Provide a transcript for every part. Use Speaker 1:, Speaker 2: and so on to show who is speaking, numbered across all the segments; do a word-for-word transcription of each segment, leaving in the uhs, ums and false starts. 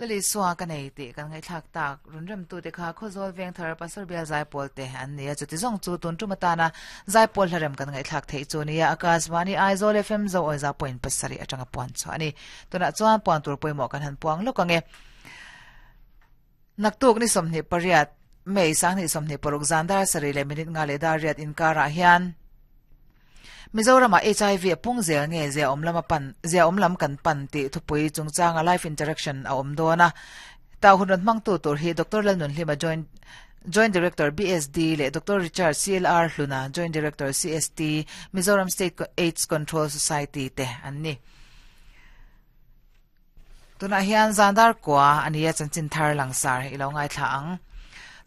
Speaker 1: Lali suwa ka nei ti kan ngai thlak tak runrem tu te kha khozol veng thar pasor bial zai pol te an nia chuti zong chu tun tu matana zai pol hlarem kan ngai thlak thei chu nia Akashvani Aizawl F M zo oiza point pasari atanga puan chu ani tuna chuan puan tur poimo kan han puang lokange naktuk ni somni pariat mei sang ni somni paruk zandar sari le minute nga le dar riat inkara hian Mizoram H I V pung zel nge zia om lama pan zia om lam kan pan ti thupui chungchang a life interaction a om dona ta hun mang tu tur hi Doctor Lalnun Hlima joint Joint Director B S D le Doctor Richard C L R Hluna Joint Director C S T Mizoram State AIDS Control Society te anni tuna hian zandar kwa ania chanchin thar langsar ilo ngai thla ang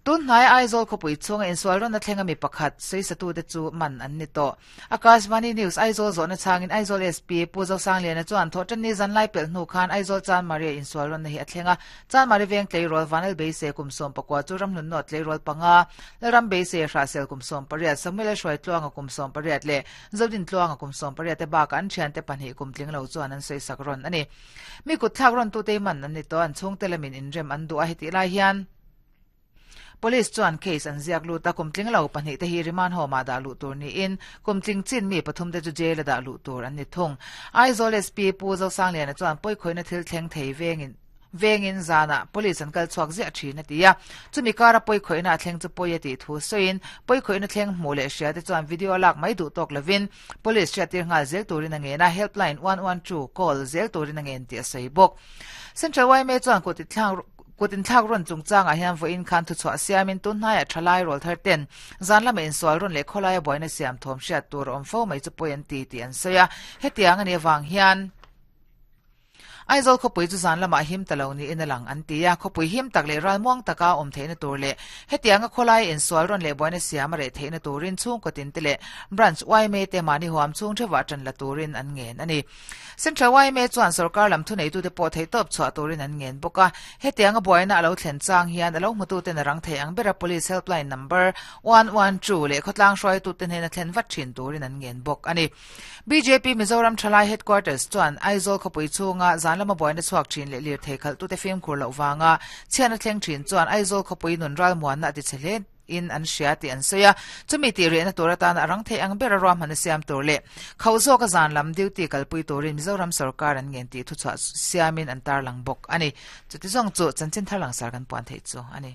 Speaker 1: tun hnai Aizawl khawpui chunga insual rawn a thlenga mi pakhat sawisatu te chu man an ni tawh Akashvani News Aizawl zawhna changin Aizawl S P Pu Zosangliana chuan thawhtan ni zan lai pel hnu khan Aizawl Chanmari insual rawn na hi a thlenga Chanmari veng tleirawl Vanel Beise kum sawm pakua chu ramhlun nawt tleirawl panga Lalram Beise Hrahsel kum sawm pariat Samuel Hruai Tluanga kum sawm pariat leh Zodin Tluanga kum sawm pariat te bakah an thian te pahnih kum tling lo chuan an sawisak rawn ani mi kut thlak rawn tu te man an ni tawh an chhung te lamin inrem an duh a heti lai hian Police chuan case an ziak lut a kumtling lo pahnih te hi riman homa da lu tur ni in kumtling chin mi pathum te chu jail da lu tur an ni thung Aizawl S P Pu Zosangliana chuan poi khoina thil thleng thei vengin vengin zana police an kal chuak zia thina tia chumi kara poi khoina thleng chu poi ati thu soin poi khoina thleng hmu le hria te chuan video lak mai du tok lovin police hria tir ngal zel turin ange na helpline one one two call zel turin ange ti a sei bok Central Y M A chuan ko ti thlang kutin thlak ron chungchang a hian voin khan thu chhuah siamin tun hnaiah thalai rawl thar ten zan lama insual rawn leh khawlai a buaina siam thawm hriat tur awm fo mai chu pawi an ti tih an sawi a hetiang ani awang hian Aizawl khawpui chu zan lamah him ta lo niin a lang an ti a khawpui him tak leh ralmuang taka awm theihna tur leh hetianga khawlai insual rawn leh buaina siam a reh theihna turin chhungkaw tin te leh branch Y M A te mahni huam chhung theuhah tan la turin an ngen ani Central Y M A chuan sarkar lam thu nei tu te pawh thei tawp chhuah turin an ngen bawk a hetianga buaina alo thlen chang hian alo hmutu ten a rang thei ang bera police helpline number one one two leh khawtlang hruai tu te hnena thlen vat thin turin an ngen bawk ani B J P Mizoram Thalai Headquarters chuan Aizawl khawpui chhunga zan lama buaina chhuak thin leh lir thei khalh tu te fimkhur loh wanga chhian a thleng thin chuan Aizawl khawpui nun ral muanna a ti che hle in an hria ti an sawi a chumi ti rehna tur atan a rang thei ang bera ruahman a siam tur leh kho zawk a zan lam duty kalpui turin Mizoram sarkar an ngen tih thu chhuah siamin an tarlang bawk ani chuti zawng chu chanchin thar langsar kan puan thei chu ani.